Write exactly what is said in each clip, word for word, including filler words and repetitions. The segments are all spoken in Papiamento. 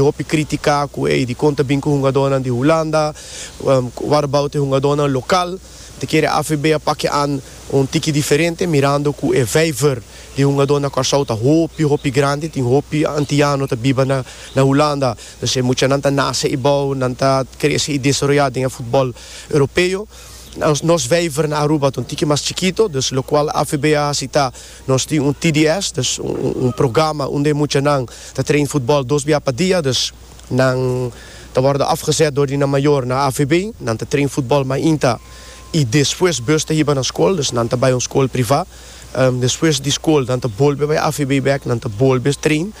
Hopi critica cu ey di con ta bin cu hungadonan di Hulanda, um, what about e hungadonan local? Ta kere A V B a pak aan un tiki diferente, mirando cu e vijver di hungadó na Corsou ta hopi hopi grandi, tin hopi antiano ta biba na na Hulanda. Dus e muchanan ta nace y bou, nan ta crece y desaroya den futbol europeo. Nos, nos vijver na Aruba ta un tiki mas chikito, dus locual A V B a cita, nos tin un T D S, dus un, un programa unda muchanan ta train futbol dos biaha pa dia, dus nan ta worden afgezet door di mayor na A V B, nan ta train futbol mainta y despues bus ta hiba na scol, dus nan ta bay un scol priva. Um, despues di scol, nan ta bolbe bay A V B back, nan ta bolbe train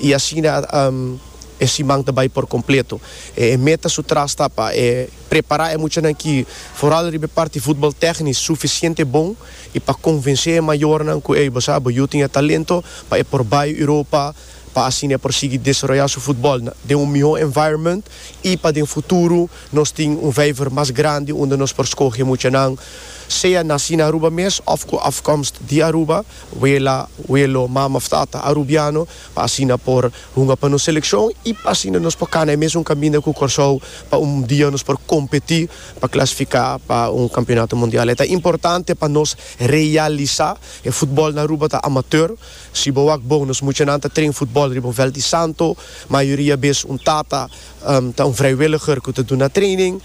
y asina um, e siman ta bay por completo. E meta su tras ta pa e prepara e muchanan aki, vooral riba parti futbol technisch suficiente bon y pa convence e mayornan cu ey, bo sabi, bo tin talento pa e por bay Europa, pa asina por sigui desaroya su futbol den un miho environment y pa den futuro nos tin un vijver mas grandi unda nos por scoge muchanan, sea naci na Aruba mes of cu afkomst di Aruba, wela, welo, mama of tata arubiano, pa asina por hunga pa nos seleccion y pa asina nos por cana mes un caminda cu Corsou pa un dia nos por competi pa clasifica pa un campeonato mundial. Ta importante pa nos realisa e futbol na Aruba ta amateur. Si bo wak bon, nos muchanan ta train futbol riba un veld di santo, mayoria bes un tata um, ta un vrijwilliger cu ta duna training,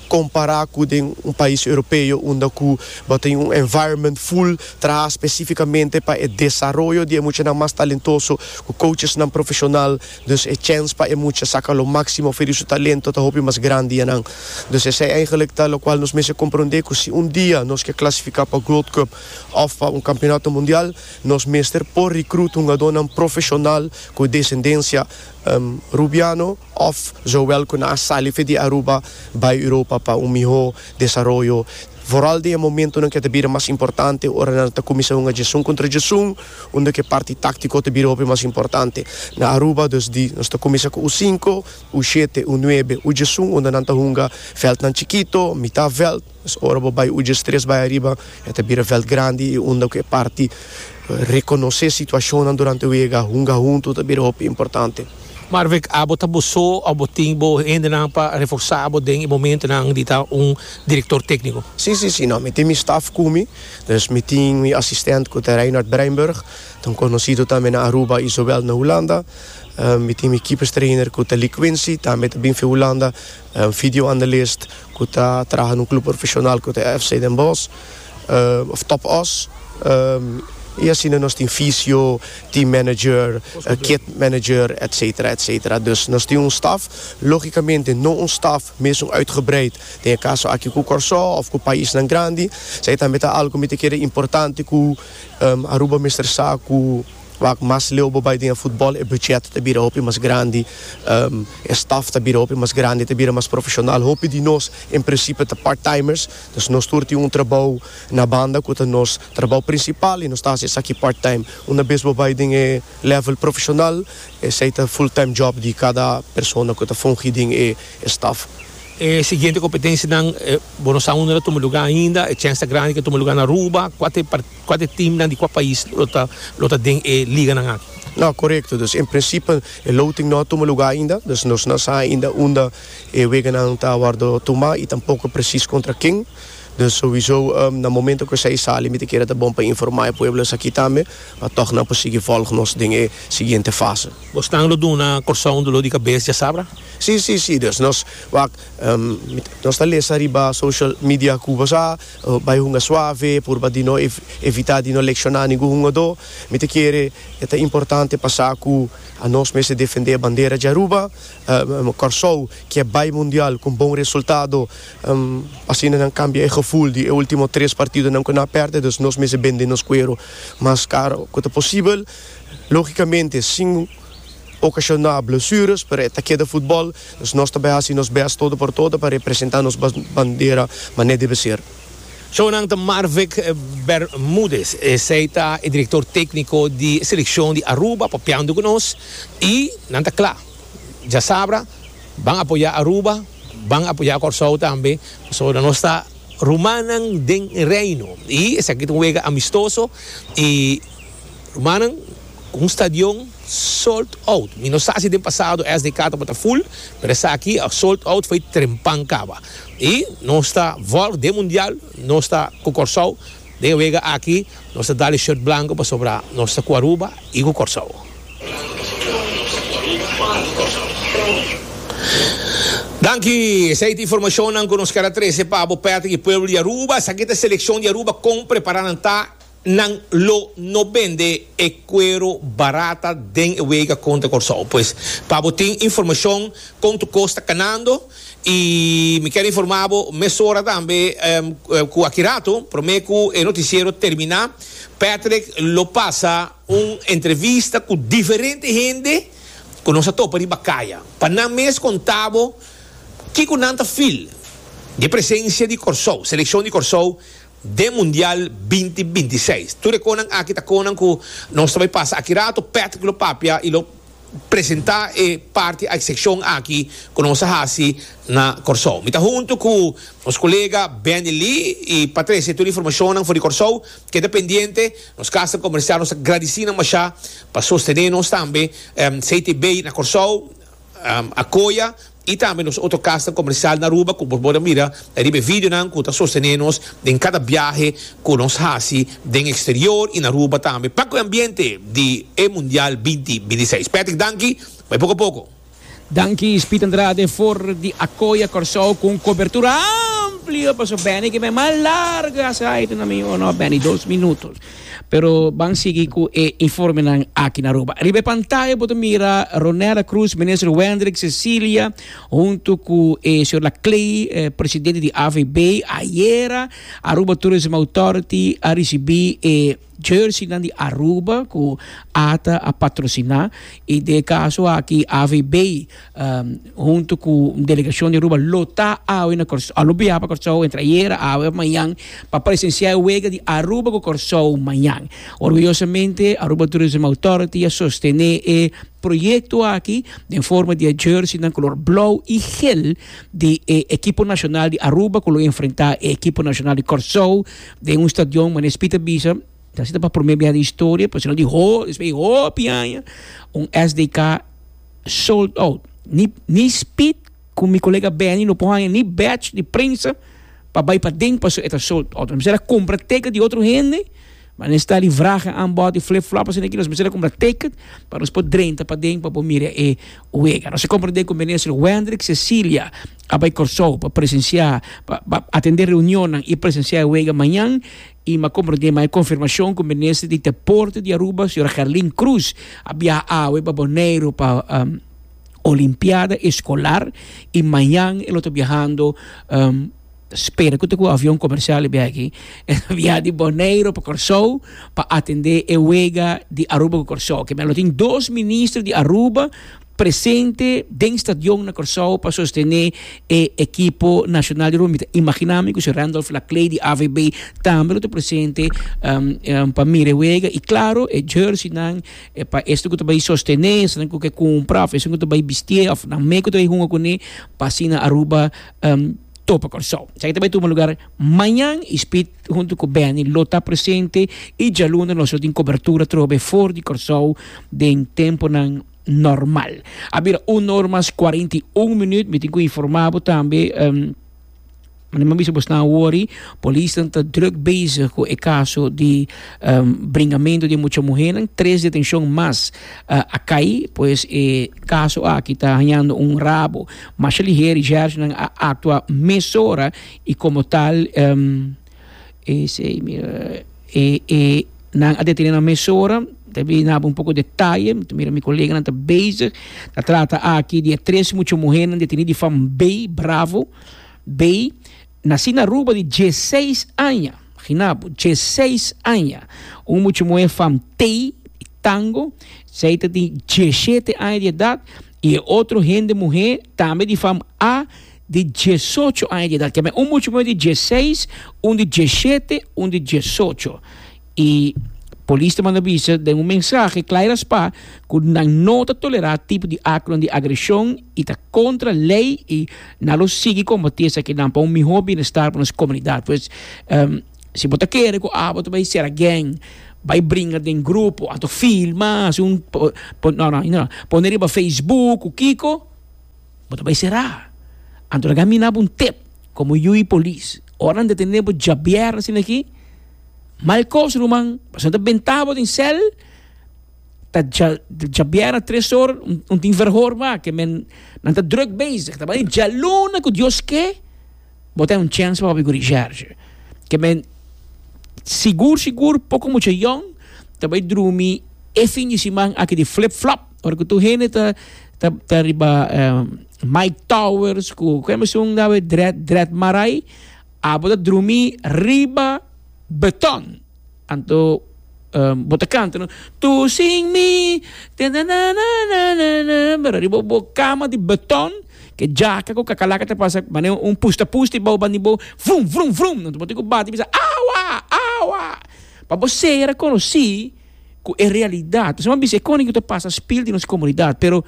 compara cu un pais europeo unda cu tin un environment full traha specificamente pa e desaroyo di mucha mas talentoso, cu coachesnan profesional, dus e chance pa e mucha saca lo maximo for di su talento ta hopi mas grandi nan. Dus esey eigenlijk ta locual nos mester comprende, cu si un dia nos kier clasifica pa Gold Cup of pa un campeonato mundial, nos mester por recruta un profesional cu descendencia um, rubiano of zowel cu a sali di Aruba bay Europa pa un miho desaroyo. Vooral den momentonan cu ta bira mas importante, ora nan ta cuminsa un diesun contra diesun, unda cu parti tactico ta bira mas importante. Na Aruba, dus di, nos ta cuminsa cu U cinco, U shete, U nuebe, U diesun, unda nan ta hunga veldnan chikito, mitar veld. Dus ora bo bay U diestres bay ariba, ta bira veld grandi, unda cu parti reconoce situacion durante e wega, hunga hunto, ta bira importante. Marvic, abo ta bo so, abo tin bo hendenan pa reforsa bo den momentonan di ta un director tecnico? Si, si, si, no, mi tin mi staff cu mi, dus mi tin mi assistent cu ta Reinhard Breinburg, dan conocido tambe na Aruba y zowel na Hulanda. Um, mi tin mi keeperstrainer cu ta Lee Quincy, tambe ta bin for di Hulanda, um, videoanalist cu ta traha den un club profesional cu ta F C Den Bosch, um, of Top Oss. Um, y asina nos tin fysio, team manager, uh, kit manager, et cetera, et cetera. Dus nos tin un staff, logicamente no un staff mes uitgebreid. Den caso aki cu Corsou of cu paisnan grandi, esey tambe ta algo cu ta importante cu um, Aruba mester sa cu wak mas leu bay den futbol, e budget ta bira hopi mas grandi, um, e staff ta bira hopi mas grandi, ta bira mas profesional. Hopi di nos in principe ta part-timers, dus nos tur tin un trabou na banda cu ta nos trabou principal y nos ta aki part-time. Un bes bo bay den level profesional, esey ta full-time job di cada persona cu ta fungi den e staff. E siguiente competencianan, eh, bon, sa unda ta tuma luga ainda, e chance grandi cu tuma luga na Aruba, cua cua teamnan di cua pais lo ta lo ta den e liganan aki? No, correcto. Dus in principe, e loting no a tuma luga ainda. Dus nos no sa ainda unda e weganan ta wordo tuma y tampoco precies contra ken. Dus sowieso, um, na momento cu esey sali, mi ta kere ta bon pa informa e pueblo aki tambe, pa toch nan por sigui volg nos den e siguiente fase. Bo lo duna Corsou dolor di cabes diasabra? Si, si, si. Dus nos, wak, um, nos ta lesa riba social media cu sa, uh, bay hunga suave, pa di no ev evita di no lesiona ningun hungado. Mi ta kere ta importante pa sa cu nos mester defende e bandera di Aruba, um, Corsou, cu bay mundial cu bon resultado, um, asina nan cambia e gevoel di ultimo tres partidonan cu nan a perde, dus nos mester bende nos cuero mas caro cu posibel. Logicamente, sin ocasiona blessures, pero ta keda futbol, dus nos tambe ta haci nos best todo por todo pa representa nos bandera, manera debe ser. Shownan, ta Marvic Bermudez, esey ta e director tecnico di seleccion di Aruba, papiando cu nos, y nan ta cla. Diasabra, ban apoya Aruba, ban apoya Corsou tambe, so nos ta rumannan den Reino. Y esaki ta un wega amistoso y rumannan Un stadion sold out. Mi no sa si den pasado S D K tabata full, pero esaki sold out for di trempan caba. Y nos ta volg den Mundial, nos ta cu Corsou, den wega aki, nos ta dal shirt blanco pasobra nos ta cu Aruba y cu Corsou. Danki, esey ta informacion cu nos kier a trece pa Patrick y pueblo di Aruba. Esaki ta seleccion di Aruba con prepara ta nan lo no bende e cuero barata den wega contra Corsou. Pues, pa tin informacion con cos ta canando y mi kier informa mesora tambe um, cu aki rato, prome cu e noticiero termina, Patrick lo pasa un entrevista cu diferente hende cu nos a topa riba caya. Pa nan mes conta bo kico nan ta feel di presencia di Corsou, seleccion di Corsou den Mundial dos mil bintiseis. Tur cosnan aki ta cosnan cu nos tambe pasa aki rato, Patrick lo papia y lo presenta e parti e seccion aki cu nos a hasi na Corsou. Mi ta hunto cu nos colega Benny Lee y Patricia, tur informacion for di Corsou, keda pendiente, nos cas comercial, nos ta gradici masha pa sostene nos tambe, um, C T B na Corsou, um, Acoya, y tambe nos otro cas comercial na Aruba, cu bo mira, riba video nan, cu ta sostene nos den cada biahe cu nos hasi den exterior y na Aruba tambe. Pa e ambiente di e Mundial dos mil bintiseis. Patrick, danki, bay poco poco. Danki, Speed Andrade, for di Acoya Corsou cu cobertura amplio. Paso Benny cu mas larga sa na mi no Benny, dos minuut. Pero ban sigui cu e informe nan aki na Aruba. Riba pantaya bo ta mira Ronella Cruz, minister Wendrick Cecilia, hunto cu eh, señor Laclay, eh, presidente di A V B. Ayera, Aruba Tourism Authority a ricibi eh, jersey nan di Aruba cu ATA a patrocina y den e caso aki A V B um, hunto cu delegacion di Aruba lo ta awe na Corsou, a lo biaha pa Corsou entre ayera, awe, mañan pa presencia e wega di Aruba cu Corsou mañan. Orguyosamente Aruba Tourism Authority a sostene e proyecto aki den forma di jersey na color blauw y geel di eh, ekipo nacional di Aruba cu lo enfrenta e ekipo nacional di Corsou den un stadion manera Speed a bisa ta asina pa prome di historia, pues no di ho, es hopi aña, un S D K sold out. Ni ni Speed cu mi colega Benny no por ni badge di prensa pa bay paden, paso e ta sold out. Nos a cumpra ticket di otro hende, maar dan sta die vragen aanbod, die flip-flop, asina aki, nos mester cumpra ticket pa nos por drenta paden pa mira e wega. Nos a comprende cu minister Wendrick Cecilia a bay Corsou pa presencia, pa atende reunion y presencia e wega mañan y mi a comprende mas confirmacion cu minister di Deporte di Aruba, señora Gerlin Cruz, a biaha awe pa Boneiro pa um, Olimpiada Escolar y mañan e ta biahando um, spera cu e avion comercial bin aki biaha di Boneiro pa Corsou pa atende e wega di Aruba cu Corsou, cu tin dos minister di Aruba presente den stadion na Corsou pa sostene e ekipo nacional di Aruba. Imagina mi cu Randolph Laclay di A V B tambe ta presente um, um, pa mira wega y claro, e jersey nan e pa esun cu bay sostene, esun cu cumpra, esun cu bay bisti of nan mes cu bay hunga cune pa asina Aruba um, topa Corsou. Esaki tambe ta tuma lugar mañan y Speed hunto cu Benny lo ta presente y dialuna nos tin cobertura trobe for di Corsou den tempo nan normal. A bira un or mas cuarenta y un minuut, mi tin cu informa tambe um, maar mi bisa na worry, polis ta druk bezig cu e caso di um, bringamento di mucha muher, tres detencion mas uh, a cay, pues e caso aki ta ganando un rabo, mas ligero y a actua mesora y como tal um, ese, mira, e, e, nan a detene mesora. Debe na un poco detaye, mira, mi colega ta bezig. Ta trata aki di tres mucha muher deteni di fam B, Bravo, B, naci na Aruba di diesseis aña. Imagina bo, diesseis aña. Un mucha muher fam T, Tango, esey di diesshete aña di edad, y otro hende muher tambe di fam A di diesocho aña di edad. Cu un mucha muher di diesseis, un di diesshete, un di diesocho. Y polis ta manda bisa den un mensahe claro pa cu nan no ta tolera tipo di acto di agresion y ta contra ley y nan lo sigui combati esaki pa un miho bienestar pa nos comunidad. Pues um, si bo ta kere cu abo bay ser gang Bai bringa den grupo, anto filma, un, po, po, no, no, no, pone riba Facebook, kiko, bo ta bai sera. Anto laga mi duna bo un tip, komo yu polis. Ora nan detené bo djabièrnè asina aki, mal kos, ruman, pasobra nan ta benta bo den sèl, ta djabièrnè tres or, un, un tin verhoor ma, ke men, nan ta druk bezig, ta bai djaluna ku Dios ke, bo tin un chèns pa papia ku recherche. Ke men, sigur, sigur, poko mucha yòn, ta bai drumi e fin di siman aki di flip flop, ora ku tur hende ta ta ta riba um, Mike Towers, ku komo un dawe Dred Dred Marai, abo ta drumi riba beton. Anto um, bo ta kanta, no? Tu sin mi, te na na na na na na, pero riba bo kama di beton, ku djaka ku kakalaka ta pasa, mane un pusta pusta bou bandi bo, vrum vrum vrum, anto bo tin ku bati bisa awa awa. Pa bo ser konosí ku e realidat. Bo bisa kon ku ta pasa spil di nos komunidat, pero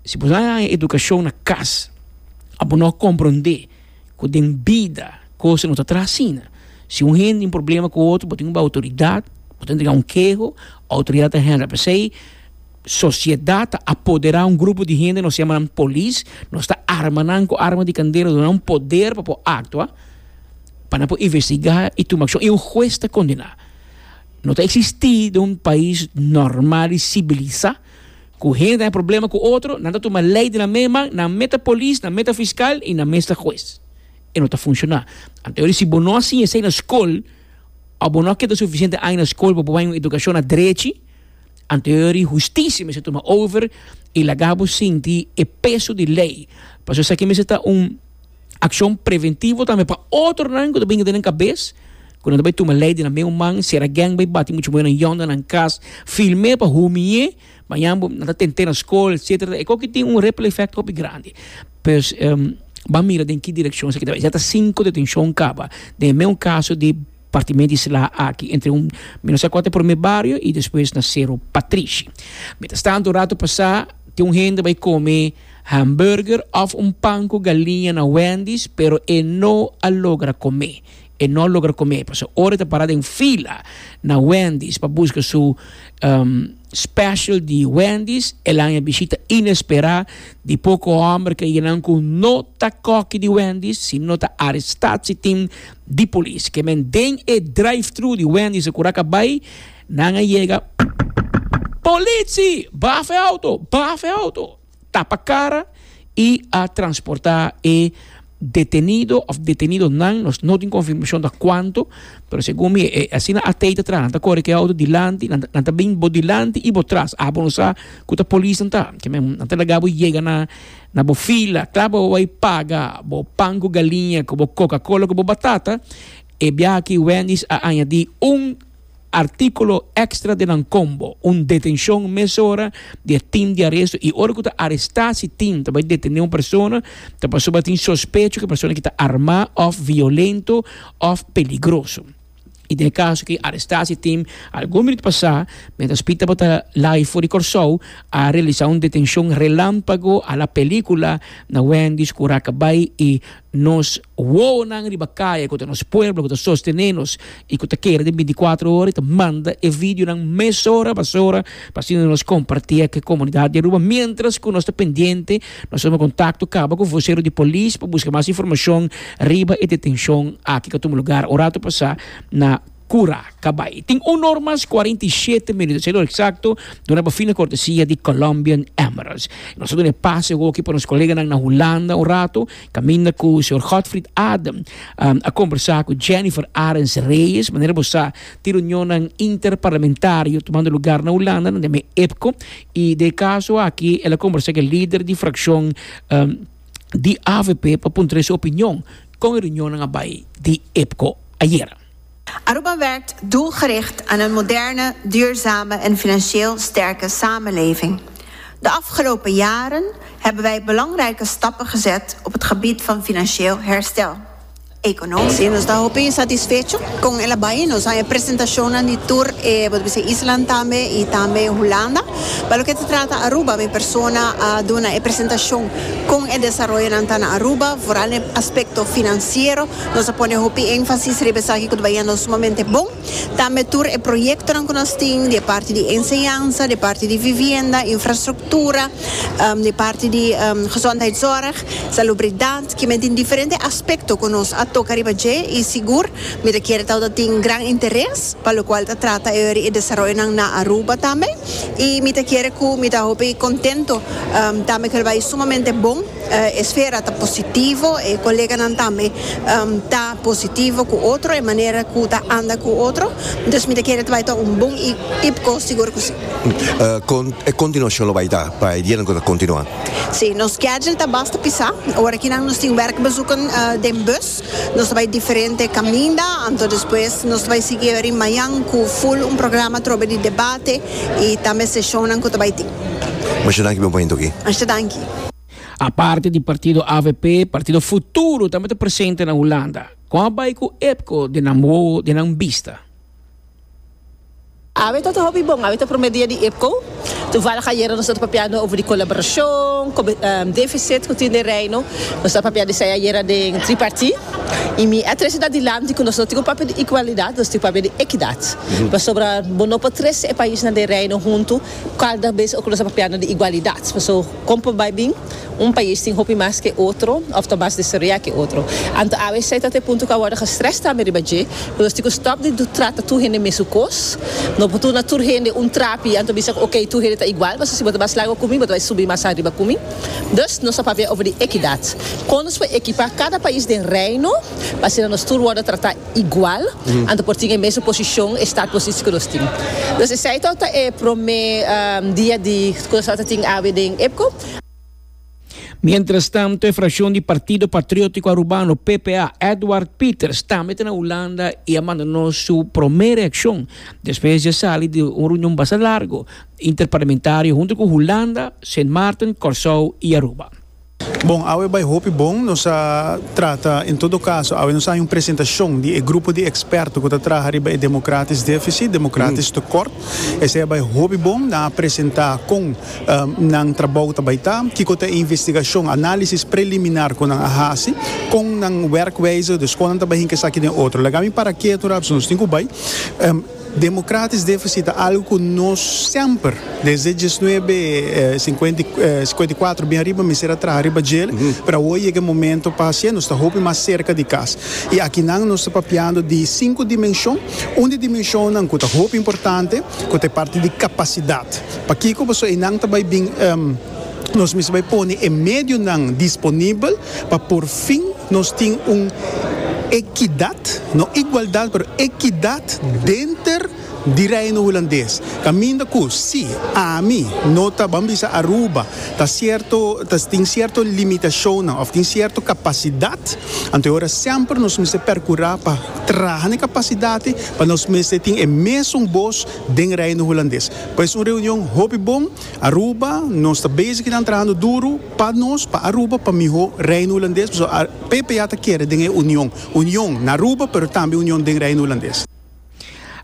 si bo haña edukashon na kas, abo no komprondé ku den bida kos no ta asina. Si un hende tin problema ku otro, bo tin un outoridat, bo tin un keho, outoridat ta handle. P'esei, sosiedat a apoderá un grupo di hende, nos yama polis, nos ta arma nan ku arma di kandela, duna un poder pa aktua, pa por investigá i tuma akshon. I un hues ta kondená. No ta eksistí den un pais normal i sivilisá ku hende tin problema ku otro, nan ta tuma lei den nan man, nan mes ta polis, nan mes ta fiskal i nan mes ta hues. E no ta funshoná. Anto, si bo no asina esei na skol, òf bo no keda sufisiente aña na skol pa un edukashon na drechi, anto hustisia mester tuma over i laga bo sinti e peso di lei. Pasobra esaki mester ta un akshon preventivo tambe pa otronan ku bin den kabes, ku nan bai tuma lei den nan mes man, sera gang bai bati mucha muhé yòn na kas, film'é pa humiá, mañan nan ta tent'é na skol, et cetera. E ku tin un ripple effect hopi grandi. Pues um, ban mira den ki direkshon esaki ta. Ya ta sinku detenshon kaba. Den mesun kaso di partimentu di sla aki entre un menos kuater promé bario i despues na Sero Patrishi. Mientras tanto, ratu pasá, tin un hende bai kome hamburger òf un pan ku galiña na Wendy's, pero e no a logra kome. E no a logra kome. Pasobra ora e ta pará den fila na Wendy's pa buska su um, special di Wendy's, el a haña bishita inesperá di poko hòmber ku nan ku no ta kòki di Wendy's, sino ta arrestatieteam di polis. Ke men den e drive-thru di Wendy's Cura Cabay, nan a yega: "Politie, baha outo, baha outo." Tapa kara i a transportá e detenido òf detenidonan, nos no tin konfirmashon di kuantu, pero segun mi, eh, asina a teita tras, nan ta kore ku outo dilanti, nan nan ta bin bo dilanti i bo tras, ah, bo no sa ku ta polis nan ta, ke men nan ta laga bo yega na na bo fila, kla bo bai paga bo pan ku galiña, ku bo Coca-Cola, ku bo batata. E biaha aki Wendy's a añadí un artíkulo èkstra den nan combo, un detenshon mesora di team di aresto. I ora ku ta arrestatieteam, ta bai detené un persona, ta pasobra tin sospecho ku e persona aki ta armá òf violento òf peligroso. I den kaso ku arrestatieteam, algun minüt pasá, mientras Pita tabata live for di Kòrsou, a realisá un detenshon relámpago a la pelíkula na Wendy's Cura Cabay i nos wowonan riba kaya ku nos pueblo ku ta sostené nos i ku ta kere den bintikuater ora ta manda e videonan mesora pasora pa asina nos kompartí ku e komunidat di Aruba, mientras ku nos ta pendiente. Nos tin kontakto kaba ku vosero di polis pa buska mas informashon riba e detenshon aki ku a tuma lugá un ratu pasá na Cura Cabay. Tin un or mas kuarenta i shete minüt, siendo eksakto, di una fina kortesia di Colombian Emeralds. Nos ta duna pase aki pa nos koleganan na Hulanda un ratu, kaminda ku señor Godfried Adam um, a kombersá ku Jennifer Arends Reyes, manera bo sa, tin reunion interparlamentario tumando lugá na Hulanda, na EPCO, i den e kaso aki, el a kombersá ku e lider di frakshon um, di A V P pa puntra su opinion kon e reunion a bai di EPCO ayera. Aruba werkt doelgericht aan een moderne, duurzame en financieel sterke samenleving. De afgelopen jaren hebben wij belangrijke stappen gezet op het gebied van financieel herstel. Economisch. Si, nos ta hopi satisfecho cu el a bay. Nos a presentacion di tur eh, Island tambe y tambe Hulanda. Pa loke ta trata Aruba, mi persona a duna e presentacion con e desaroyo na Aruba, vooral e aspecto financiero. Nos a pone hopi enfasis riba esaki cu ta bayendo sumamente bon. Tambe tur e proyecto cu nos tin, di parti di enseñansa, di parti di vivienda, infrastructura, um, di parti di um, gezondheidszorg, salubridad, cu tin diferente aspecto cu nos a toca riba dje y sigur mi kier ta tin gran interes pa loke ta trata e desaroyo na Aruba tambe y mi kier cu mi ta hopi contento um, tambe cu bay sumamente bon, uh, esfera ta positivo y coleganan tambe um, ta positivo cu otro e manera cu ta anda cu otro, dus mi kier bay ta un bon IPKO, sigur cu si. Uh, con, e continuacion lo bay ta pa e dia cu continua? Si, nos schedule ta basta pisa. Awor aki nos tin werkbezoeken uh, den bus. Nos ta bay diferente caminda, anto despues nos ta bay sigui mañan cu full un programa trobe di debate y tambe sesion cu bay tin. Masha danki, bon momento aki. Masha danki. Aparte di partido A V P, Partido Futuro tambe ta presente na Hulanda. Con a bay cu IPKO den nan, den nan bista? Awe ta hopi bon, awe ta prome dia di IPKO. Toevallig ayera nos tabata papiando over di colaboracion, um, deficit cu tin den Reino. Nos tabata papiando esey ayera den tripartiet. Y mi a trece adilanti cu nos no tin papia di igualdad, nos tin papia di equidad. Mm -hmm. Sobre bo no por trece paisnan den Reino hunto, cada bes cu nos papiando di igualdad. So, como bay bin, un pais tin hopi mas cu otro, of ta mas desaroya cu otro. Anto, awe ta e punto cu awor gestress tambe riba dje, nos tin cu stop di trata tur hende mesun cos. No por duna tur hende un trapi, anto bisa, ok, tur hende ta igual, mas si bo mas largo cu mi, bo bay subi mas ariba cu mi. Dus nos ta papia over di equidad. Con nos por equipa cada pais den Reino, pa asina nos tur wordo trata igual, mm. anto por tin e mesun posicion, startpositie cu nos tin. Dus esey ta e prome um, dia di cu nos tin awe den IPKO. Mientras tanto, e fraccion di Partido Patriotico Arubano, P P A, Edward Peters, tambe na Hulanda y a manda nos su prome reaccion despues di a sali di un reunion bastante largo interparlamentario hunto cu Hulanda, Sint Maarten, Corsou y Aruba. Bon, awe a bay hopi bon, nos a trata, en todo caso, awe nos tin un presentacion di e grupo di experto cu ta traha riba e democratisch deficit, democratisch mm. tekort. Esey a bay hopi bon, nan a presenta con um, nan trabou ta bay ta, kico ta investigacion, analisis preliminar cu nan a hasi, con nan werkwijze, dus con nan ta bay esaki den otro. Laga mi para keto, nos tin cu bay. Um, democratisch deficit ta algo cu nos semper, desde mil nuebe sinkuenta i kuater bin ariba, mester a traha riba dje, mm -hmm. pero awe ta e momento pa haci, nos ta hopi mas cerca di cas. Y aki nan nos ta papiando di cinco dimension, un di dimension cu ta hopi importante, cu ta parti di capacidad. Pakico? Paso einan ta bay bin um, nos mester bay pone e medionan disponibel pa por fin nos tin un equidad, no igualdad, pero equidad denter di Reino Hulandes. Caminda cu, si, ami, no ta, ban bisa Aruba, ta cierto, ta tin cierto limitacion, of tin cierto capacidad, anto awor semper nos mester percura pa traha e capacidad, pa nos mester tin e mesun voz den Reino Hulandes. Pues un reunion hopi bon, Aruba, nos ta bezig trahando duro pa nos, pa Aruba, pa miho Reino Hulandes, so, P P A ta kere den union, union na Aruba, pero tambe union den Reino Hulandes.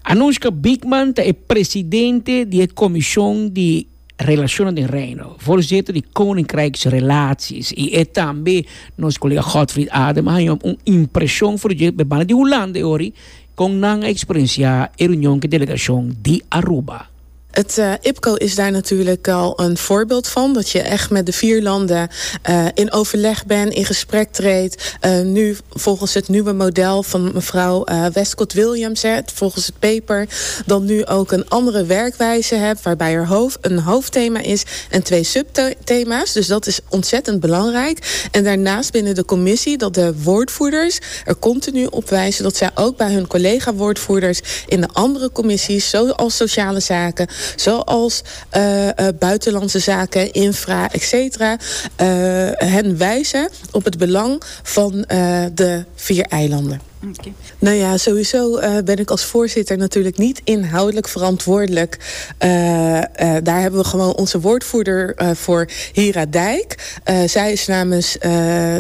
Anushka Bigman ta presidente di Comision di Relacion den Reino, voorzitter di Koninkrijksrelaties. Y e tambe nos colega Godfried Adem a un impresion for di banda di Hulanda ori con nan a experiencia e reunion cu delegacion di Aruba. Het uh, IPKO is daar natuurlijk al een voorbeeld van. Dat je echt met de vier landen uh, in overleg bent, in gesprek treedt. Uh, nu volgens het nieuwe model van mevrouw Westcott Williams, hè, volgens het paper, dan nu ook een andere werkwijze hebt, waarbij er hoofd, een hoofdthema is en twee subthema's. Dus dat is ontzettend belangrijk. En daarnaast binnen de commissie dat de woordvoerders er continu op wijzen dat zij ook bij hun collega-woordvoerders in de andere commissies, zoals sociale zaken, zoals uh, uh, buitenlandse zaken, infra, et cetera, uh, hen wijzen op het belang van de vier eilanden. Okay. Nou ja, sowieso uh, ben ik als voorzitter natuurlijk niet inhoudelijk verantwoordelijk. Uh, uh, daar hebben we gewoon onze woordvoerder voor, Hira Dijk. Zij is namens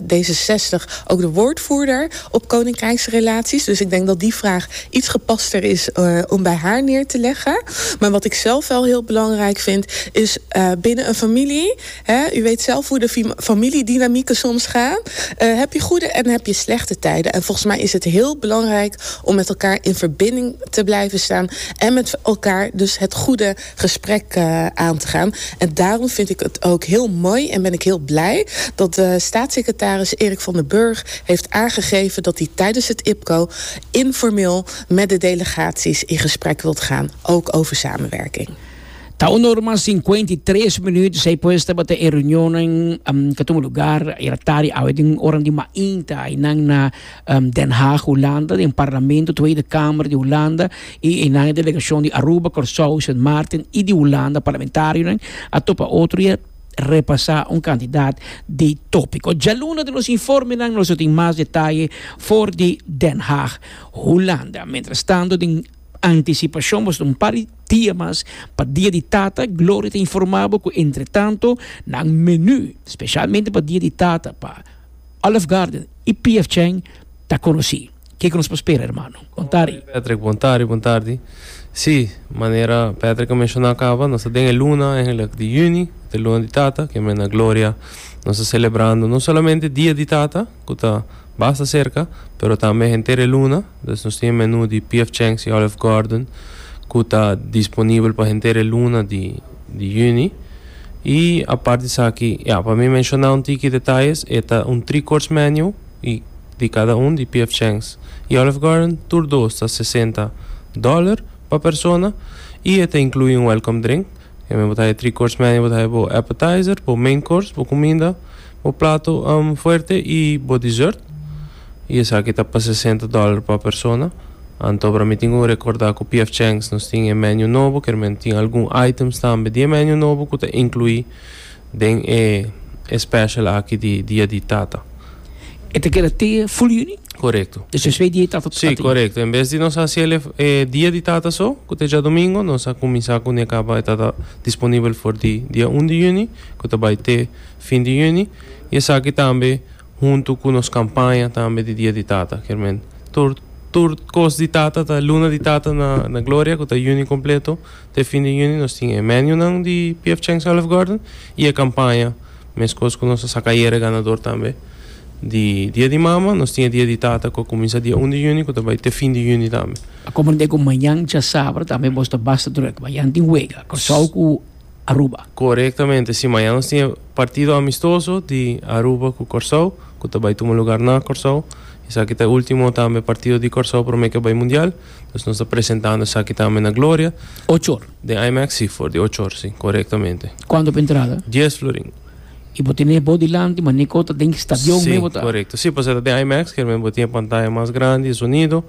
D zesenzestig ook de woordvoerder op koninkrijksrelaties. Dus ik denk dat die vraag iets gepaster is om bij haar neer te leggen. Maar wat ik zelf wel heel belangrijk vind, is binnen een familie. Hè, u weet zelf hoe de familiedynamieken soms gaan. Heb je goede en heb je slechte tijden. En volgens mij is het heel belangrijk om met elkaar in verbinding te blijven staan en met elkaar dus het goede gesprek uh, aan te gaan. En daarom vind ik het ook heel mooi en ben ik heel blij dat de staatssecretaris Eric van der Burg heeft aangegeven dat hij tijdens het IPCO informeel met de delegaties in gesprek wilt gaan, ook over samenwerking. Ta un or mas sinkuenta i tres minüt, esei pues tabata e reunion um, ku a tuma lugá ayera tardi, den ora di mainta, na um, Den Haag, Hulanda, den parlamento, Tweede Kamer di Hulanda, i na delegashon di Aruba, Kòrsou, Sint Maarten i di Hulanda, parlamentario, a topa otro i repasá un kantidat di tópiko. Djaluna den nos informe nos tin mas detaye for di Den Haag, Hulanda. Mientras tanto, den antisipashon, un par di dia mas pa Dia di Tata, Gloria ta informá ku entre tantu, nan menú, spesialmente pa Dia di Tata, pa Olive Garden i P F Chang, ta konosí. Kiko nos por spera, ruman? Bon tardi. Patrick, bon tardi, bon tardi. Sí, manera Patrick a menshoná kaba, nos tin luna eigenlijk di yüni, e luna di Tata, ku na Gloria nos ta selebrando no solamente Dia di Tata, ku ta basta serka, pero tambe henter luna, dus nos tin menú di P F Chang's i Olive Garden, ku ta disponibel pa henter luna di, di yüni. I aparte esaki, ja, pa mi menshoná un tiki detaye, ta un three-course menu i di kada un di P F Chang's i Olive Garden, tur dos ta sesenta dòler pa persona i e ta inkluí un welcome drink. E bo ta three course menu, bo ta bo appetizer, bo main course, bo kuminda, bo plato um, fuerte i bo dessert. I esaki ta pa sesenta dòler pa persona. Anto, pa mi tin ku rekordá ku P F Chang's nos tin menu nobo, ku tin algun items tambe di menu nobo ku ta inkluí den e special aki di Dia di Tata. E ta keda te full yüni? Korekto. Dus twee dia tata. Sí, korekto. En bes di nos hasi eh, Dia di Tata so, ku ta djadumingu, nos a kuminsá ku kaba ta disponibel for di dia un di yüni, ku ta bai te fin di yüni. I esaki tambe huntu ku nos kampaña tambe di Dia di Tata, ke men tur tur kos di Tata, ta luna di Tata na na Gloria, ku ta yüni kompleto, te fin di yüni nos tin menu nan di P F Chang's, Olive Garden i e kampaña, meskos ku nos a saka ganadó tambe di Dia di Mama, nos tin Dia di Tata, ku ta kuminsá dia un di yüni, ku bai te fin di yüni tambe. Komprondé ku mañan djasabra tambe boso ta basta drùk. Mañan tin wega, Kòrsou ku Aruba. Korektamente, sí, mañan nos tin partido amistoso di Aruba ku Kòrsou, ku bai tuma lugá na Kòrsou. Esaki ta e último tambe partido di Kòrsou promé ku bai Mundial. Anto nos ta presentando esaki tambe na Gloria. Ocho or. Di IMAX, sí, for di ocho or, sí, korektamente. Kuantu pa entrada? dies florin. I bo tin bo dilanti, ma ni kota den stadion Sí, mes ta. Korekto. Sí, pues e di IMAX, ke men tin pantaya mas grandi, sonido,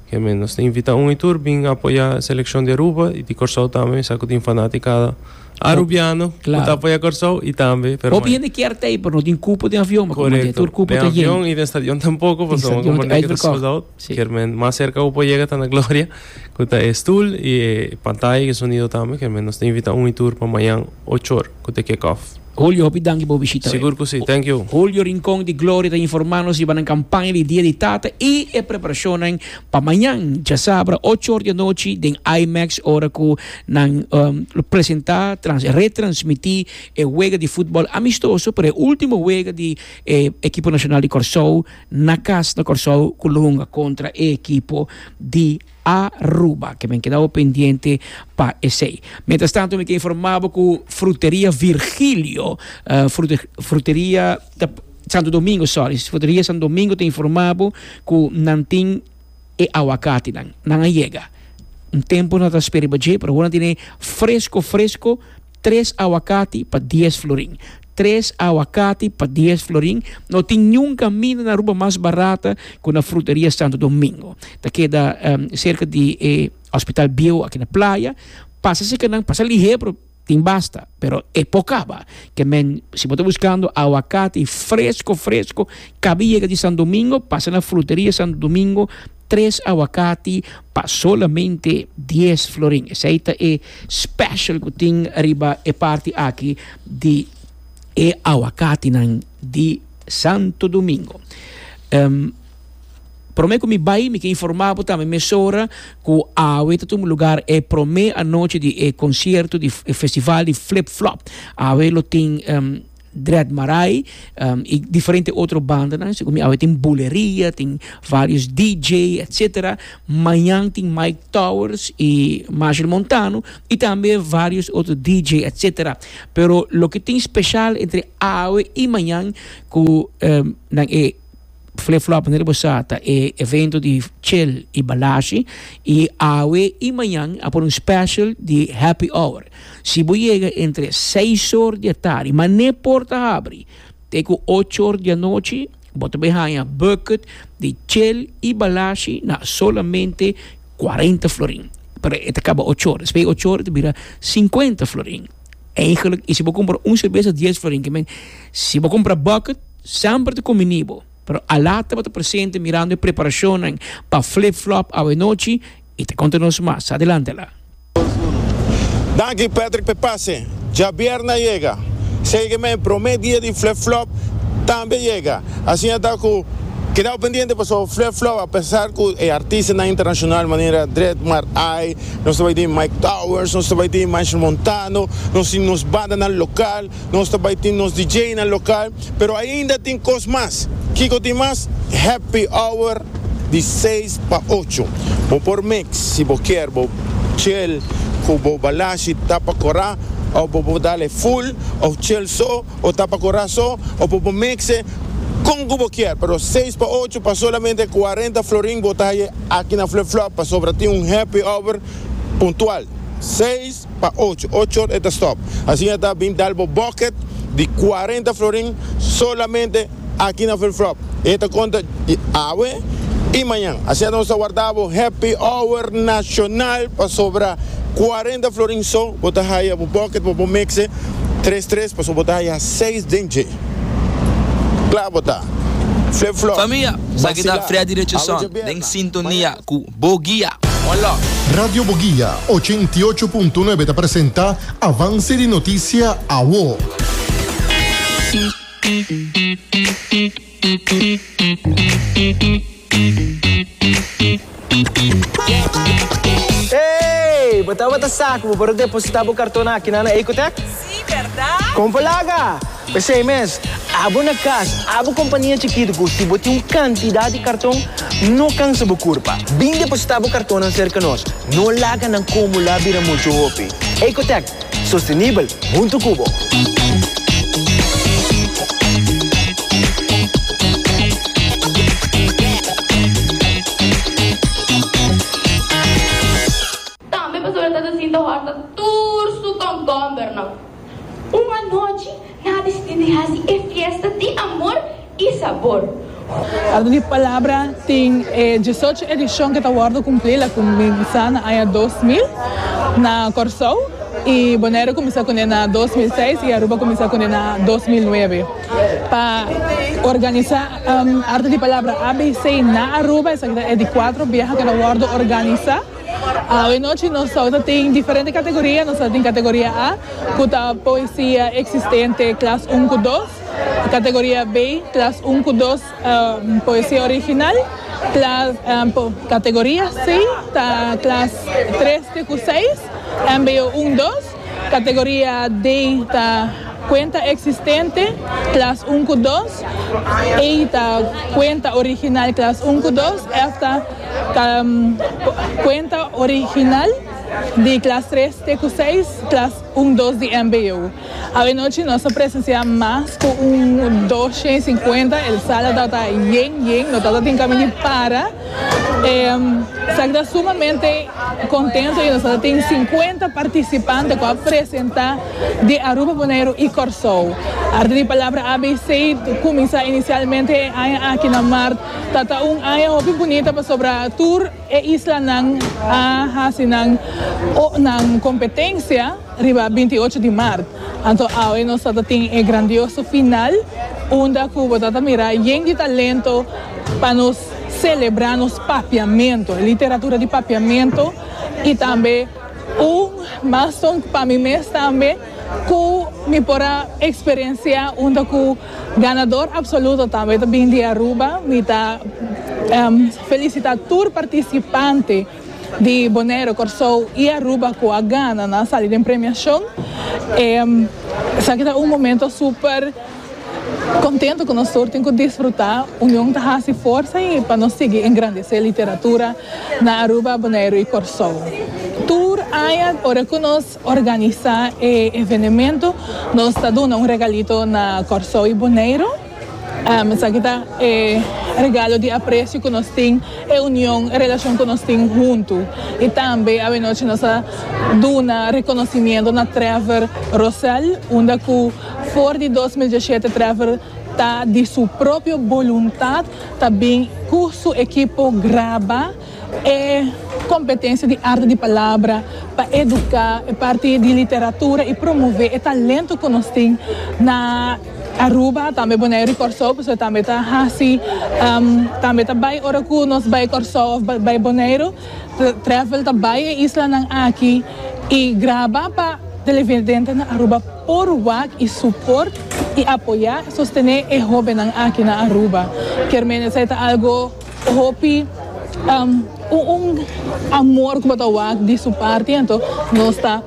ke men nos ta invitá un i tur bin apoyá e selekshon di Aruba i di Kòrsou tambe, sa ku tin fanatikada arubiano, Klaro. ku ta apoyá Kòrsou i tambe, pero Hopi hende ke tei, pero no tin kupo di avion, ma Korekto. tur kupo Den ta yen. avion i den stadion tampoko, Den pues vamos stadion komprondé ku ta uitverkocht. sold out. Sí. Ke men mas serka ku yega ta na Gloria, ku ta stoel i pantaya i sonido tambe, ke men nos ta invitá un i tur pa mañan ocho or, ku ta kick off. Julio, hopi danki pa bishita. Sigur ku sí, thank you. Julio Rincón di Gloria ta informando si e kampaña di Dia di Tata i e preparashon pa mañan, djasabra, ocho or di anochi, den IMAX, ora ku nan um, presentá, trans, retransmití e wega di futbòl amistoso, pero e último wega di eh, ekipo nashonal di Kòrsou, na kas na Kòrsou, ku lo hunga kontra e ekipo di Aruba, ke men keda pendiente pa esei. Mientras tantu, mi ke informá ku Fruteria Virgilio, uh, frute, Fruteria Santo Domingo, sorry, Fruteria Santo Domingo ta informá ku nan tin e awakati nan, nan a yega. Un tempu nan ta spera, pero awor tin fresku, fresku, tres awakati pa dies florin. Tres awakati pa dies florin. No tin ningun kaminda na Aruba mas barata ku na Fruteria Santo Domingo. Ta keda um, serka di eh, Hospital Bio aki na Playa. Pasa serka nan, pasa lihé, Tin basta, pero e por kaba. Ke men, si bo ta buskando awakati fresku, fresku, kaba yega di Santo Domingo, pasa na Fruteria Santo Domingo, tres awakati pa solamente dies florin. Esei ta e special ku tin riba e parti aki di e awakatinan di Santo Domingo. Um, Promé ku mi bai, mi ke informá tambe mesora ku awe ta tuma lugá e promé anochi di e konsierto di e festival di Flip Flop. Awe lo tin um, Dread Marai um, i diferente otro bandanan. Segun mi awe tin buleria, tin vários D J, et cetera. Mañan tin Mike Towers i Marshall Montano i tambe vários otro D J, et cetera. Pero loke tin spesial entre awe i mañan ku um, nan e Flip Flop manera bo sa ta e evento di chill i balashi i awe i mañan a pone un special di happy hour. Si bo yega entre seis or di atardi, manera porta habri, te ku ocho or di anochi, bo ta bai haña bucket di chill i balashi na solamente kuarenta florin. Pero e ta kaba ocho or. Despues ocho or, ta bira sinkuenta florin. Eigenlijk, i si bo kumpra un serbes dies florin, ke men, si bo kumpra bucket, semper ta kombiní bo. Pero Alata ta presente mirando e preparashon pa Flip Flop awe nochi i ta konta nos mas. Adelante la. Danki, Patrick Pepase. Djabièrnè a yega. Sígueme, promé dia di Flip Flop tambe a yega. Asina ta ku keda pendiente pa Flip Flop, apesar ku e artistanan internashonal manera Dread Mar Ai, nos tambe tin Mike Towers, nos tambe tin Michael Montano, nos tin nos bandanan lokal, nos tambe tin nos D J nan lokal, pero ainda tin kos mas. Kiko tin mas? Happy Hour di seis pa ocho. Bo por mix, si bo ke, bo chill, ku bo balashi tapa kòrá, òf bo dal e full, òf chill so, òf tapa kòrá so, òf bo mix kon bo ke, pero seis pa ocho pa solamente kuarenta florin bo ta aki na Flip Flop, pasobra tin un happy hour puntual. seis pa ocho, ocho or ta stop. Asina ta bin dal bo bucket di kuarenta florin solamente aki na Flip Flop. E ta konta awe i mañan. Asina nos ta warda bo happy hour nashonal pasobra kuarenta florin so, bo ta haya bo bucket, bo mix tres tres, pasobra bo ta haya seis den dje. Klaro ta. Flip Flop. Famia, esaki ta Freddy Richardson, den sintonia ku Boguia. Hola. Radio Boguia ochenta i ocho punto nuebe ta presentá Avanse di Notisia Awo. Hey, bo tabata sa ku bo por depositá bo karton aki na Ecotech? Si, berdat? Kon por laga? P'esei mes, abo na kas, abo kompania chikitu, si bo tin un kantidat di karton, no kansa bo kurpa. Bin depositá bo karton serka nos. No laga nan akumulá bira muchu hopi. Ecotech, sostenibel, huntu ku bo. Tambe pasobra tata sinta hòrta tur su kònkòmbernan. Un anochi, nan a disidí di hasi e fiesta di amor i sabor. Arte di Palabra tin eh, diesocho edishon ku ta wòrdu kumplí, el a kuminsá na aña dos mil na Kòrsou i Boneiru a kuminsá kuné na dos mil seis i Aruba a kuminsá kuné na dos mil nuebe. Pa organisá um, Arte di Palabra A B C na Aruba, esaki ta di kuater biaha ku ta wòrdu organisá. Awe nochi nos tin diferente kategoria, nos tin kategoria A, ku ta poesia eksistente klas un ku dos, kategoria B, klas un ku dos, um, poesia original, klas, um, po, kategoria C, ta klas tres ku seis, M B O un dos, kategoria D ta kuenta eksistente, klas un ku dos, E ta kuenta original, klas un ku dos, F ta um, kuenta original di klas tres te ku seis, klas un dos di M B O. Awe nochi nos a presensiá mas ku un dosshent sinkuenta, e sala ta yen yen, no tabatin kaminda di para. Eh, ta sumamente kontentu i nos tin sinkuenta partisipante ku a presentá di Aruba, Boneiru i Kòrsou. Arte di Palabra A B C a kuminsá inisialmente aki na mart, tabata un aña hopi bunita pasobra tur e islanan a hasi nan o nan kompetensia. Riba binti ocho di maart. Anto awe nos tin e grandioso final, unda cu bo ta mira yen di talento pa nos celebra nos papiamento, literatura di papiamento y tambe un milestone pa mi mes tambe cu mi por a experiencia, unda cu ganador absoluto tambe ta bin di Aruba. Mi ta um, felicita tur participante di Bonaire, Corsou y Aruba cu a gana na salida di premiacion. Um, esaki ta un momento super contento cu nos tin cu disfruta, union ta haci forsa y pa nos sigui engrandece literatura na Aruba, Bonaire y Corsou. Tur aña, ora cu nos organisa e evento, nos ta duna un regalito na Corsou y Bonaire. Um, esaki ta e regalo di aprecio cu nos tin, e union, e relacion cu nos tin hunto. Y tambe, anochi, nos a duna reconocimento na Trevor Rossell, unda cu for di dos mil diesshete Trevor ta di su propio voluntad, tambe cu su ekipo graba e competencia di arte di palabra pa educa e parti di literatura y promove e talento cu nos tin na Aruba, tambe Bonaire y Corsou, pasobra tambe ta asina, um, tambe ta bay ora cu nos bay Corsou of bay Bonaire, Trevor ta bay e islanan aki y graba pa televidente na Aruba por wak y support y apoya, sostene e hobennan aki na Aruba. Kiermen esey ta algo hopi um, un, un amor cu ta wak di su parti, anto nos ta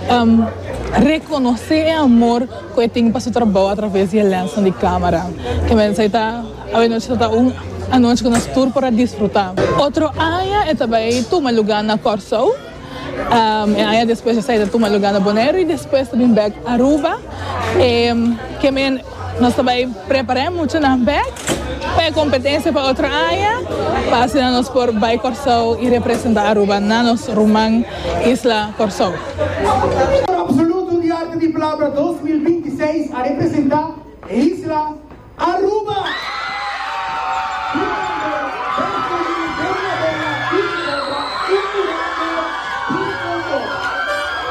um, reconoce e amor cu e tin pa su trabou atraves di lens di camera. Kiermen esey ta anochi ta un anochi cu nos tur por disfruta. Otro aña e tambe tuma luga na Corsou. Um, y aña despues esey ta tuma luga na Bonaire y despues tambe back Aruba. Um, kiermen nos tambe prepara mucho na back pa e competencia pa otro aña, pa asina nos por bay Corsou y representa Aruba na nos ruman isla Corsou. Absoluto di Arte di Palabra dos mil binti seis a representa e isla